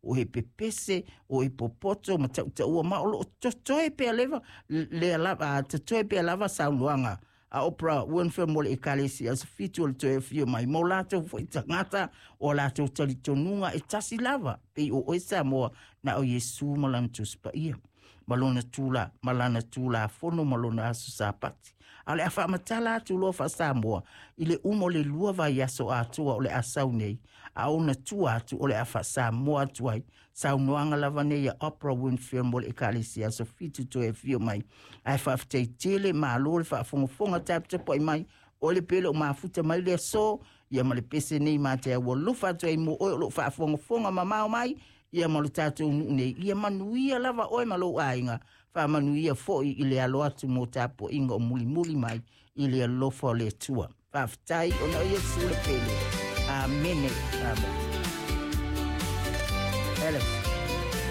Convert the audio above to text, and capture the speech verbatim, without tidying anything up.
O e pepese, o e popoto ma tautaua ma o loo totoe pea leva lea lava, totoe pea lava saunoaga a Oprah Winfrey mo le Ekalesia Aso Fitu o le toe afio mai mo latou foi tagata o latou talitonuga e tasi lava pei o oe Samoa na o Iesu ma lana Tusi Paia ma lona tula ma lana Tulafono ma lona aso Sapati. A o le a faamatala atu loa faa-Samoa i le uma o le lua vaiaso atoa o le a sau nei, a ona tua atu o le a faa-Samoa atu ai saunoaga lava nei a Oprah Winfrey mo le Ekalesia Aso Fitu toe afio mai. Ae faafetai tele, malo le faafogafoga taputapuai mai o le pele o mafuta mai le aso ia ma le pese nei ma te ua lufa atu ai mo oe o loo faafogafoga mamao mai ia ma lo tatou nuu nei. Ia manuia lava oe ma lou aiga, faamanuia foi i le alo atu mo tapuaiga o mulimuli mai i le alofa o le Atua. Faafetai ona o Iesu le pele. Amene. Amen. Alex.